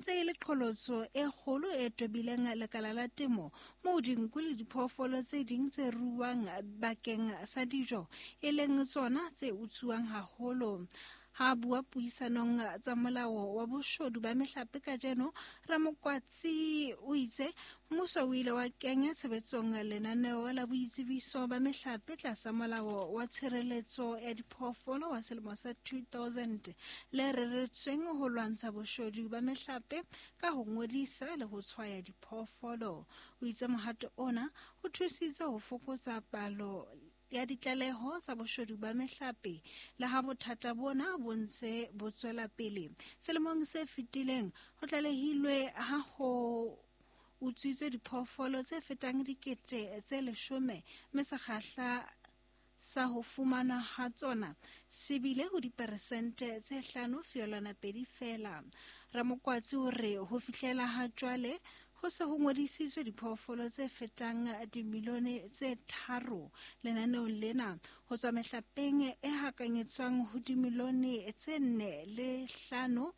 ntse e le qholotso e kgolo e tobileng lekala la temo, moo dinku le diphoofolo tse ding tse ruuwang bakeng sa dijo e leng tsona tse utsuwang haholo. Ha a bua puisanong tsa molao wa boshodu ba mehlape kajeno, Ramokwatsi o itse mmuso o ile wa kenya tshebetsong lenaneo la boitsebiso ba mehlape tlasa molao wa tshireletso ya diphoofolo wa selemo sa 2000 le reretsweng ho lwantsha boshodu ba mehlape ka ho ngodisa le ho tshwaya diphoofolo. O itse mohato ona o thusitse ho fokotsa palo ya ditlaleho tsa boshodu ba mehlape le ha bothata bona bo ntse bo tswela pele. Selemong se fetileng ho tlalehilwe ha ho utswitswe diphoofolo tse fetang 10,000 mme sekgahla sa ho fumanwa ha tsona se bile ho diperesente tse 5.2 feela. Ramokwatsi o re ho fihlela ha jwale ho se ho ngodisitswe diphoofolo tse fetang dimilione tse 3 lenaneong lena, ho tswa mehlapeng e hakanyetswang ho dimilione tse 4.5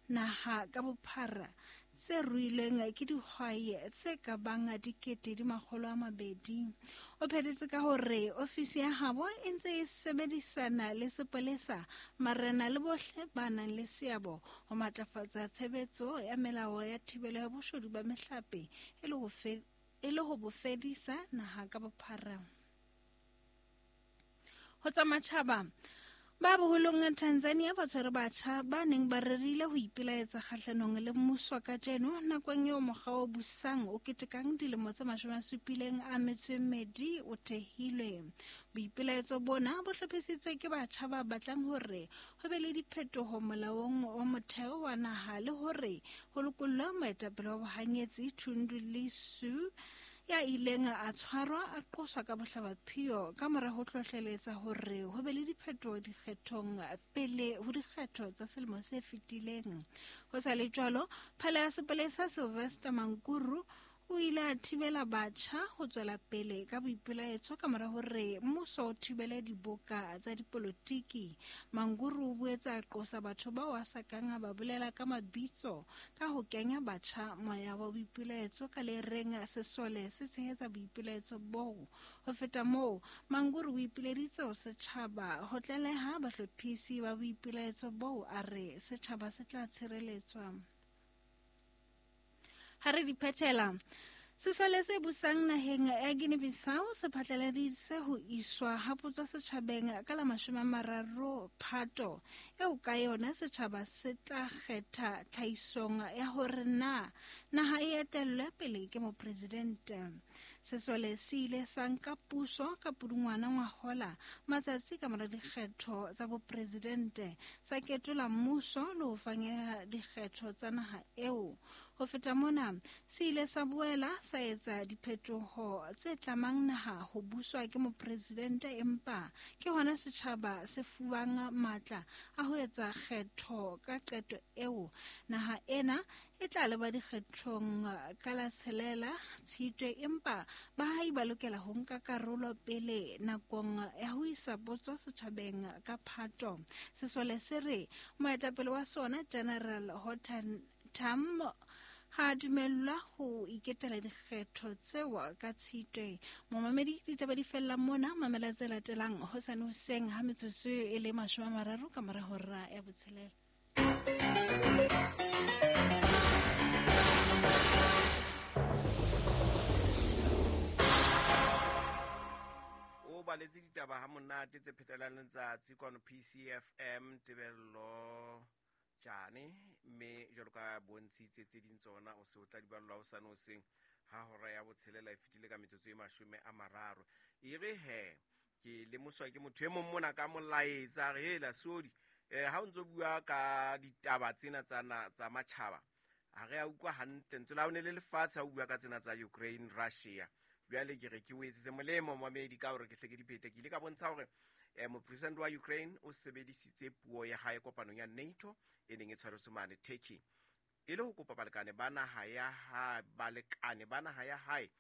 naha ka bophara, tse ruilweng ke dihwai tse ka bang 200,000. O phethetse ka hore ofisi ya habo e ntse e sebedisana le sepolesa, marena le bohle ba nang le seabo ho matlafatsa tshebetso ya melao ya thibelo ya boshodu ba mehlape e le ho bo fedisa naha ka bophara. Ho tsa matjhaba, ba boholong Tanzania ba tshwere batjha ba neng ba rerile ho ipelaetsa kgahlanong le mmuso kajeno nakong eo mokga o busang o ketekang dilemo tse 72 o thehilwe. Boipelaetso bona bo hlophisitswe ke batjha ba batlang hore ho be le diphetoho molaong wa motheo wa naha le hore ho lokollwe moetapele wa bohanyetsi Tundu Lissu ya ileng a tshwarwa a qoswa ka bohlabaphio ka mora ho hlohleletsa hore ho be le diphetoho dikgethong pele ho dikgetho tsa selemo se fetileng. Ho sa le jwalo, phala ya sepolesa Sylvester Mankuru o ile a thibela batjha ho tswela pele ka boipelaetso ka mora hore mmuso o thibele diboka tsa dipolotiki. Manguru o boetse a qosa batho bao a sa kang a ba bolela ka mabitso ka ho kenya batjha moya wa boipelaetso ka le reng sesole se tshehetsa boipelaetso boo. Ho feta moo, Manguru o ipileditse ho setjhaba ho tlaleha bahlophisi ba boipelaetso boo, a re setjhaba se tla tshireletswa. Ha re di phethela, sesole se busang naheng ya Guinea-Bissau se phatlaladitse ho iswa ha potso setjhabeng ka la 30 Phato, eo ka yona setjhaba se tla kgetha tlhahisong ya hore na naha e etellwe pele ke mopresidente. Sesole se ile sa nka puso ka Pudungwana ngwahola matsatsi ka mora dikgetho tsa bopresidente, sa ketola mmuso le ho fanyeha dikgetho tsa naha eo. Ho feta mona, se ile sa boela sa etsa diphetoho tse tlamang naha ho buswa ke mopresidente, empa ke hona setjhaba se fuwang matla a ho etsa kgetho ka qeto eo. Naha ena e tla leba dikgethong ka la 6 Tshitwe, empa baahi ba lokela ho nka karolo pele nakong ya ho isa potso setjhabeng ka Phato. Sesole se re moetapele wa sona General Hortan Tam ha dumellwa ho iketela dikgetho tseo ka Tshitwe. Momamedi, ditaba di fella mona, mamela tse latelang hosane hoseng ha metsotso e le 30 ka mora hora ya 6. O baletse ditaba ha monate tse phetelang letsatsi kwano PCFM Tebello Tjane, mme jwalo ka bontshitse tse ding tsona o se o tla di ballwa hosane hoseng ha hora ya 6 e fetile ka metsotso e 30. E re he ke lemoswa ke motho e mong mona ka molaetsa, a re hela sodi, ha o ntso bua ka ditaba tsena tsa matjhaba, ha re a utlwa hantle ntse la o ne le lefatshe ha o bua ka tsena tsa Ukraine Russia. Jwale ke re ke o etsetse molemo momamedi ka hore ke hle ke diphete. Ke ile ka bontsha hore mopresidente wa Ukraine o sebedisitse puo ya hae kopanong ya NATO e neng e tshwaretswe mane Turkey, e le ho kopa balekane ba naha ya hae, balekane ba naha ya hae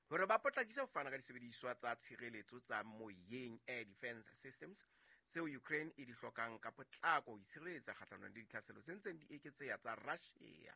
hore ba potlakise ho fana ka disebediswa tsa tshireletso tsa moyeng, air defense systems, tseo Ukraine e di hlokang ka potlako ho itshireletsa kgahlanong le ditlhaselo tse ntseng di eketseha tsa Russia.